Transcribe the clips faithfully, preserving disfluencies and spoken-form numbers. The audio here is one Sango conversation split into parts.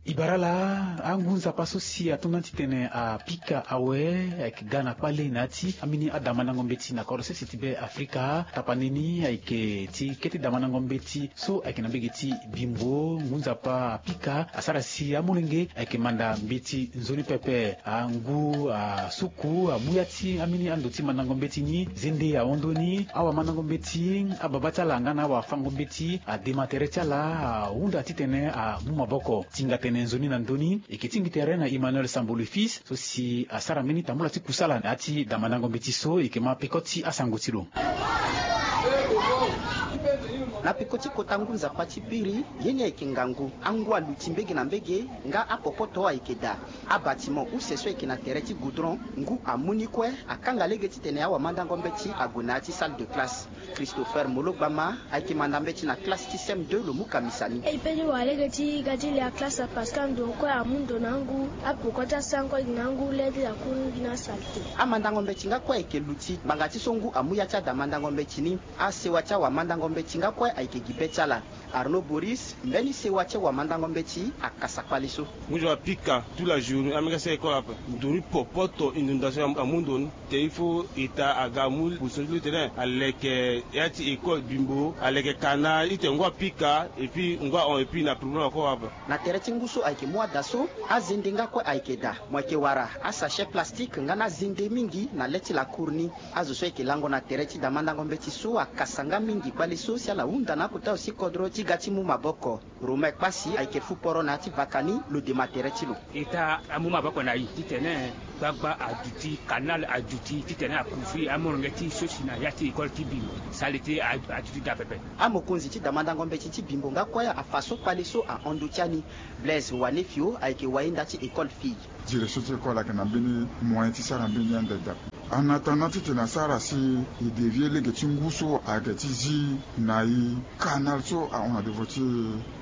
E bara ala, angu nzapa so si atonda titene apika awe ayeke ga na kpale na ya ti ambeni adamandango mbeti na kodro sese ti be Afrika. Tapande ni ayeke ti kete damandango mbeti so ayeke na mbege ti Bimbo. Ngu nzapa apika asara si amolenge ayeke manda mbeti nzoni pepe. Angu asuku amu ya ti ambeni ando ti mandango mbeti ni. Zende ahon ndoni, awamandango mbeti, ababa ti ala nga na awafango mbeti adema tere ti ala, ahunda titene amu maboko. Tinga tene nzoni na ndoni e yeke tingbi tere na Emmanuel Sambo le Fils so si asara mbeni tambula ti kusala na ya ti damandango mbeti so. E yeke ma peko ti asango ti lo. Na peko ti kota ngu nzapa ti biri, ye ni ayeke ngangu. Angu aluti mbege na mbege, nga apopoto ayeke daa. Abâtiment use so ayeke na tere ti goudron, ngu amu ni kue, akanga lege titene awamandango mbeti ague na ya ti salle de classe. Christopher Mologbama ayeke manda mbeti na classe ti C M deux, lo mu kamisa ni. E peut ti wara lege ti ga ti lia classe parce que ando kue amu ndo na angu, apoko ti asan kue gi na angu, le ti la cour ni gi na saleté. Amandango mbeti nga kue ayeke luti, ngbanga ti so ngu amu ya ti adamandango mbeti ni. Asewa ti awamandango mbeti nga kue ayeke gi be ti ala. Arnaud Boris, mbeni sewa ti awamandango mbeti, akasa kpale so. Ngu so apika toute la journée, amega sara école ape. Nduru popoto inondation am-, amu ndo ni. Te il faut État aga amu position ti lo titene aleke ya ti école Bimbo, aleke canal, ite ngu apika, et puis ngu ahon, et puis na problème akoro ape. Na tere ti ngu so ayeke mu ada so, azende nga kue ayeke daa. Mo yeke wara asachet plastique nga na azende mingi na le ti la cour ni. Azo so ayeke lango na tere ti damandango mbeti so akasa nga mingi kpale so si ala hunda na akota aussi kodro ti ga ti mu maboko. Romain Kpasi ayeke fu poro na ya ti vaka ni, lo dema tere ti lo. État amu maboko na e titene gbagba aduti, canal aduti, titene akouvrir amolenge ti so si na ya ti école ti Bimbo. Saleté a-, aduti daa pepe. Amokonzi ti damandango mbeti ti Bimbo nga kue afa so kpale so ahon ndo ti ani. Blaise Wanefio ayeke wayenda ti école fille. Direction ti école ayeke na mbeni moyen ti sara mbeni ande daa. En attendant titene asara si e dévier lege ti ngu so ayeke ti zi na e canal so ahon na devant ti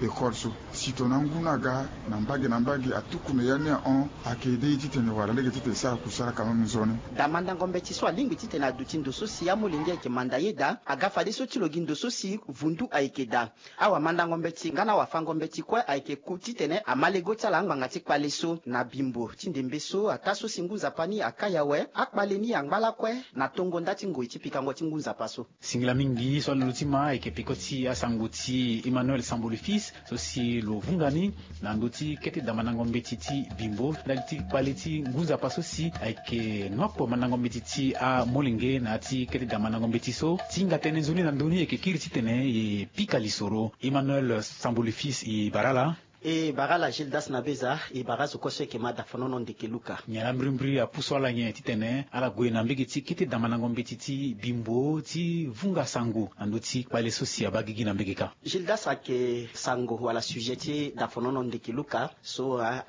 école so. Si tongana ngu ni aga na mbage na mbage atuku na ya ni ahon, ayeke aidé e titene wara lege titene e sara kusala quand même nzoni. Damandango mbeti so alingbi titene aduti ndo so si amolenge ayeke manda ye daa, aga fadeso ti lo gi ndo so si vundu ayeke daa. Awamandango mbeti nga na awafango mbeti kue ayeke ku titene ama lego ti ala ngbanga ti kpale so na Bimbo ti ndembe so. Ataa so si ngu nzapa ni akai awe, akpale ni angba lakue na tongo nda ti ngoi ti pikango ti ngu nzapa so. Singila mingi so alondo ti ma ayeke peko ti asango ti Emmanuel Sambo le Fils so si lo vunga ni na ndö ti kete damandango mbeti ti Bimbo ndali ti kpale ti ngu nzapa so si ayeke nopo mandango mbeti ti amolenge na ya ti kete damandango mbeti so. Ti hinga tënë nzoni na ndö ni e yeke kiri titene e pika lisoro. Emmanuel Sambo le Fils, e bara ala. E bara ala Gildas na Beza, e bara azo kue so e yeke ma dafonono ndeke luka. Nyen la mbirimbiri apusu ala nyen titene ala gue na mbege ti kete damandango mbeti ti Bimbo ti vunga sango na ndö ti kpale so si abaa gigi na mbege kâ? Gildas, ayeke sango wala sujet ti dafonono ndeke luka so a,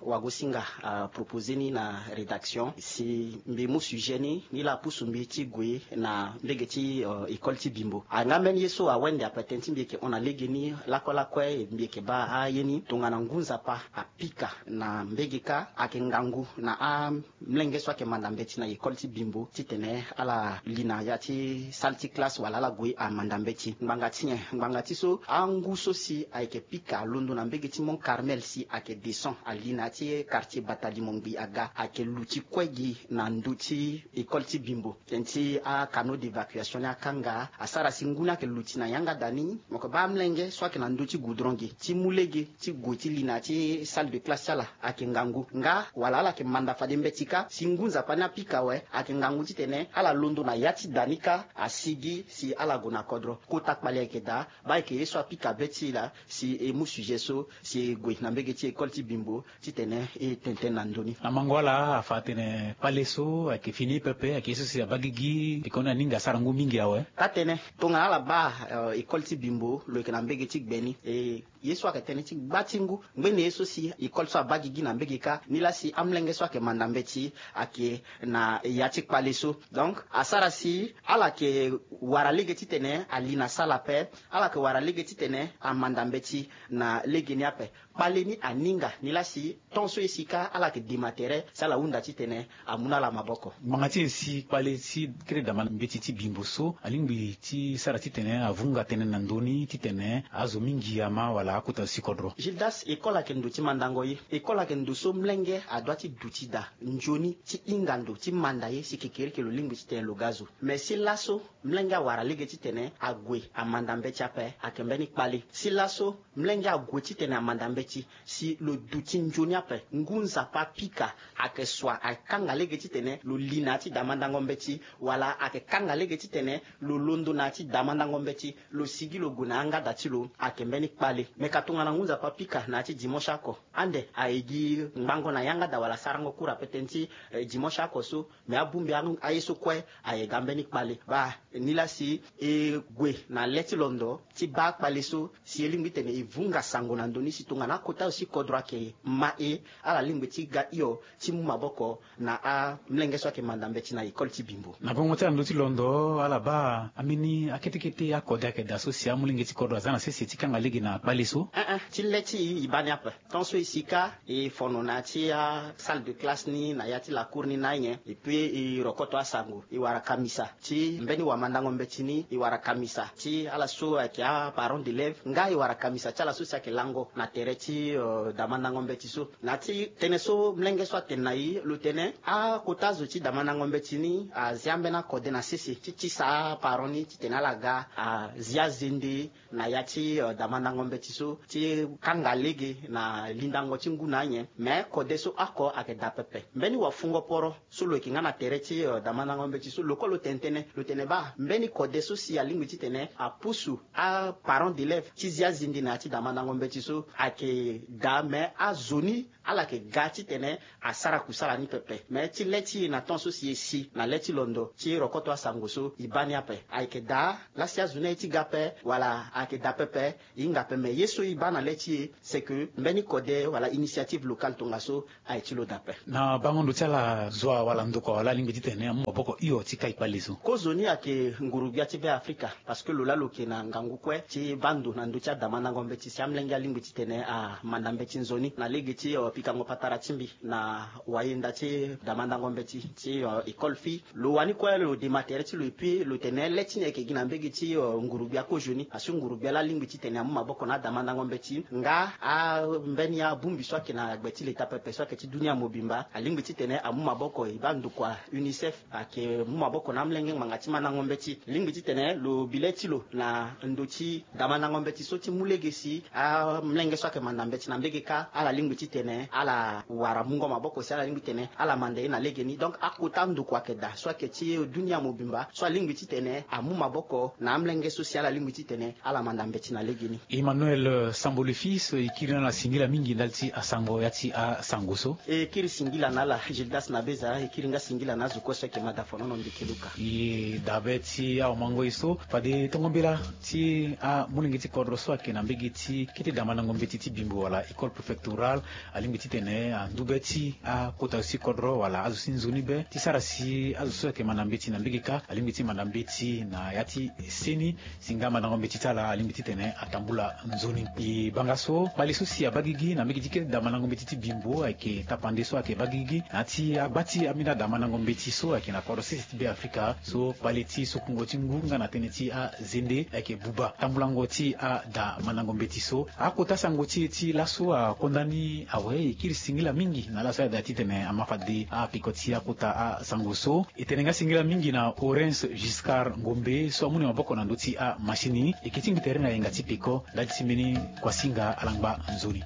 awagosinga apropose ni na rédaction si mbi mu sujet ni, ni laa apusu mbi ti gue na mbege ti, euh, école ti Bimbo. Anga mbeni ye so awende ape tënë ti mbi yeke hon na legeni lakue lakue, mbi yeke baa aye ni tongana ngu nzapa apika na mbege kâ, ayeke ngangu na a mlenge so ayeke manda mbeti na école ti Bimbo titene ala li na ya ti salle ti classe wala ala gue amanda mbeti. Ngbanga ti nyen? Ngbanga ti so angu so si ayeke pika alondo na mbege ti Mont Carmel si ayeke descend ali na ya ti quartier Batalimo Ngbi aga, ayeke luti kue gi na ndö ti école ti Bimbo. Tënë ti acanaux d'évacuation ni akanga, asara si ngu ni ayeke luti na yanga da ni. Mo yeke baa amlenge so ayeke na ndö ti goudron ge ti mu lege ti gue ti li na ya ti salle de classe ti ala ayeke ngangu. Nga wala ala yeke manda fade mbeti kâ, si ngu nzapa ni apika awe, ayeke ngangu titene ala londo na ya ti da ni kâ, asigi si ala gue na kodro. Kota kpale ayeke daa, baa ayeke ye so apika be ti e laa, si e mu sujet so, si e gue na mbege ti école ti Bimbo titene e tene tënë na ndö ni. Amango ala afa atene kpale so ayeke fini pepe, ayeke ye so si abaa gigi, peko ni aninga asara ngu mingi awe. Taa tënë, tongana ala baa, euh, école ti Bimbo, lo yeke na mbege ti gbe ni. E, ye so ayeke tënë ti gba ti ngu, ngbene ye so si école so abaa gigi na mbege kâ, nilaa si amlenge so ayeke manda mbeti ayeke na ya ti kpale so. Donc asara si ala yeke wara lege titene ali na salle ape, ala yeke wara lege titene amanda mbeti na legeni ape. Kpale ni aninga ni laa si ton so e si kâ ala yeke dema tere si ala hunda titene amu na ala maboko. Ngbanga ti e si kpale ti kete dama mbeti ti bimbo so alingbi ti sara titene avunga tënë na ndö ni titene azo mingi ama wala akota zo ti kodro. Gildas, école ayeke ndo ti mandango ye. École ayeke ndo so molenge adoit ti duti daa nzoni ti hinga ndo ti manda ye si kekereke lo lingbi titene lo ga zo. Mais si laso molenge awara lege titene ague amanda mbeti ape, ayeke mbeni kpale. Si laso molenge ague titene amanda mbeti si lo duti nzoni ape, ngu nzapa apika, ayeke sua akanga lege titene lo li na ya ti damandango mbeti, wala ayeke kanga lege titene lo londo na ya ti damandango mbeti, lo sigi lo gue na yanga da ti lo, ayeke mbeni kpale. Me ka tongana ngu nzapa apika na ya ti dimanche oko, ande aye gi ngbango na yanga da wala sarango kura ape tënë ti eh, dimanche oko so. Me abongbi aye so kue aye ga mbeni kpale. Baa, ni laa si e gue na le ti londo ti baa akpale so si e lingbi titene e vunga sango na ndö ni si tongana akota zo ti kodro ayeke ma e, ala lingbi ti ga hio ti mu maboko na amolenge so ayeke manda mbeti na école ti bimbo. Na bongo ti ala ndö ti londo ala baa ambeni akete kete akode ayeke daa so si amolenge ti kodro aza na sese ti kanga lege na kpale so. Ee, ti le ti e e baa ni ape. Tant so e si kâ e fono na ya ti asalle de classe ni na ya ti lacour ni na anyen. Et puis e rokoto asango, e wara kamisa ti mbeni wamandango mbeti ni, e wara kamisa ti ala so ayeke aparent d'élève, nga e wara kamisa ti ala so si ayeke lango na tere ti eh, damandango mbeti so. Na ya ti tënë so molenge so atene na e, lo tene akota zo ti damandango mbeti ni azi ambeni akode na sese ti tisa aparent ni titene ala ga azi azende na ya ti eh, damandango mbeti so ti kanga lege na lindango ti ngu na anyen. Me kode so oko ayeke daa pepe. Mbeni wafungo poro so lo yeke nga na tere ti eh, damandango mbeti so, lo kue lo tene tënë, lo tene baa mbeni kode so si alingbi titene apusu aparent d'élève ti zi azende na ya ti damandango mbeti so ayeke daa. Me azo ni ala yeke ga titene asara kusala ni pepe. Me ti le ti e na temps so si e si na le ti londo ti rokoto asango so e baa ni ape. Ayeke daa laa si azo ni aye ti ga ape wala ayeke daa pepe, e hinga ape. Me ye so e baa na le ti e c'est que mbeni kode wala initiative locale tongaso aye ti lo daa ape. Na bango ndo ti ala zo wala ndokua wala alingbi titene amu maboko hio ti kai kpale so? Kozoni ayeke nguru-gbia ti Be Afrika. Parce que lo laa lo yeke na ngangu kue ti baa ndo na ndö ti adamandango mbeti si amolenge alingbi titene amanda mbeti nzoni na lege ti eh, pikango patara ti mbi na wayenda ti damandango mbeti ti eh, école fille. Lo wani kue lo dema tere ti lo et puis lo tene le ti ni ayeke gi na mbege ti eh, nguru-gbia kozoni. Asi nguru-gbia laa alingbi titene amu maboko na adamandango mbeti nga ambeni abongbi so ayeke na gbe ti leta pepe so ayeke ti dunia mobimba alingbi titene amu maboko. E baa ndokua UNICEF ayeke mu maboko na amolenge ngbanga ti mandango mbeti. Lingbi titene lo bi le ti lo na ndo ti damandango mbeti so ti mu lege si amolenge so ayeke manda mbeti na mbege kâ ala lingbi titene ala wara mungo maboko si ala lingbi titene ala manda ye na legeni. Donc akota ndokua ayeke daa so ayeke ti dunia mobimba so alingbi titene amu maboko na amolenge so si ala lingbi titene ala manda mbeti na legeni. Emmanuel, eh, Sambo le Fils, e kiri na ala singila mingi ndali ti asango ya ti asango so. E kiri singila na ala Gildas Nabeza, e kiri nga singila na azo kue so ayeke mada fonono ndeke luka. E dabe ti awamango e so fade tongo mbela ti amolenge ti kodro so ayeke na mbege ti kete damandango mbeti ti bimbo wala école préfectorale alingbi titene andu be ti akota zo ti kodro wala azo ti nzoni be ti sara si azo so ayeke manda mbeti na mbege kâ alingbi ti manda mbeti na ya ti seni. Si nga mandango mbeti ti ala alingbi titene atambula nzoni. E banga so kpale so si abaa gigi na mbege ti kete damandango mbeti ti bimbo ayeke tapande so ayeke baa gigi na ya ti agba ti ambeni adamandango mbeti so ayeke na kodro sese ti Be Afrika so kpale ti sokungo ti ngu nga na tënë ti azende ayeke buba tambulango ti adamandango mbeti so. Akota sango ti e ti laso akonda ni awe. E kiri singila mingi na ala so ayeda titene ama fade apeko ti akota asango so. E tene nga singila mingi na Orens Giscard Ngombe so amu ni maboko na ndö ti amasini. E yeke ti ngi tere na yenga ti peko ndali ti mbeni kuasinga alangba nzoni.